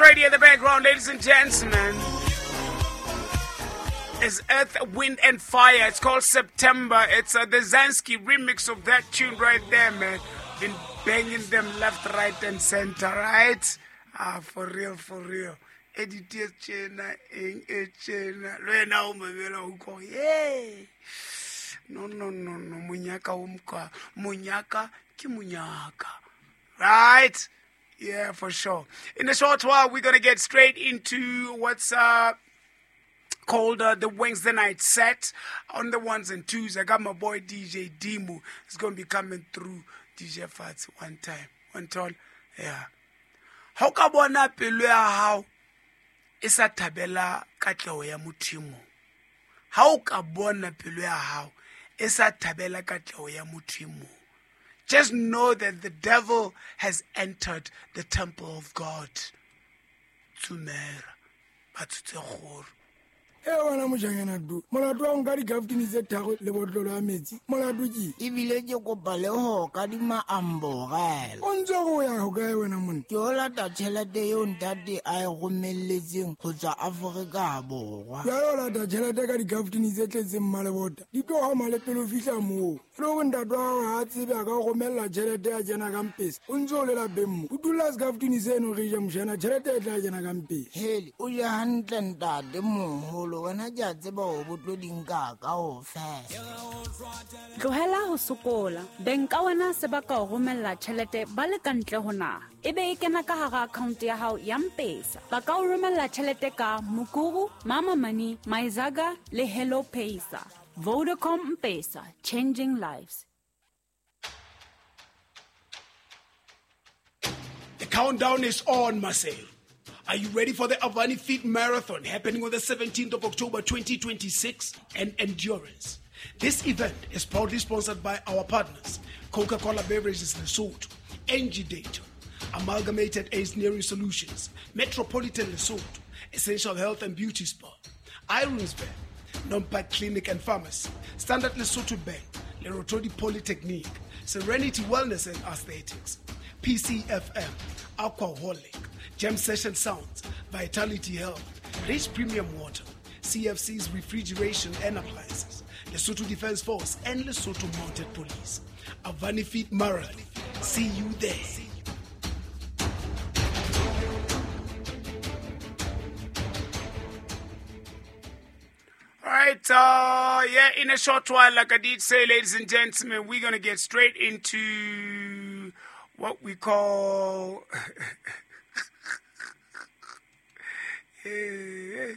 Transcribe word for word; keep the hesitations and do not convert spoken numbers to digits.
right here in the background, ladies and gentlemen, is Earth, Wind and Fire. It's called September. It's uh, the Zansky remix of that tune right there, man. Been banging them left, right, and center, right? Ah, for real, for real. Edit e tjena, eng e tjena. Le wena o mamela o utlwa, yay. No, no, no, no. Monyaka o mokwa. Monyaka ke monyaka. Right? Yeah, for sure. In a short while, we're gonna get straight into what's uh, called uh, the Wednesday night set on the ones and twos. I got my boy D J Dimo. He's gonna be coming through D J Fats one time. One time. Yeah. Ha o ka bona pelo ya hao e sa thabela katleho ya motho e mong. Ha o ka bona pelo ya hao e sa thabela katleho ya motho e mong. Just know that the devil has entered the temple of God. Tsumera, ba tshotse kgoro. E wena mojanyana du, molato wa nka dikaftini tse tharo le botlolo ya metsi, molato ke? Ebile ke kopa le ho kadima amborela. O ntse o ya hokae wena monna? Ke o lata tjhelete eo ntate a e romelletseng ho tswa Afrika Borwa. Jwale o lata tjhelete ka dikaftini tse tletseng mmalebota, di tlo hama le pele o fihla moo. E le hore ntate wa hao ha a tsebe a ka o romella tjhelete ya kena ka mpesa, o ntse o le lapeng mo. O dula sekaftini seno re ja mojana, tjhelete e tla kena ka mpesa. Hele, o je hantle ntate moholo. Wena ke a tseba hore bo tlo di nka kaofela. Tlohela ho sokola. Beng ka wena se ba ka o romella tjhelete ba le ka ntle ho naha. Ebe e kena ka hara account ya hao ya M-Pesa. Ba ka o romella tjhelete ka Mukuru, Mama Money, Myzaga le Hello Pesa. Vodacom M-Pesa, changing lives. The countdown is on, Marcel. Are you ready for the Avani Fit Marathon happening on the seventeenth of October twenty twenty-six and Endurance? This event is proudly sponsored by our partners, Coca-Cola Beverages Lesotho, N G Data, Amalgamated Engineering Solutions, Metropolitan Lesotho, Essential Health and Beauty Spa, Ironsberg, Nompa Clinic and Pharmacy, Standard Lesotho Bank, Lerotodi Polytechnic, Serenity Wellness and Aesthetics, P C F M, Aquaholic, Jam Session Sounds, Vitality Health, Rich Premium Water, C F C's Refrigeration and Appliances, Lesotho Defense Force, and Lesotho Mounted Police. Avani Fit Marathon. See you there. All right, uh, yeah, in a short while, like I did say, ladies and gentlemen, we're gonna get straight into what we call... Yeah,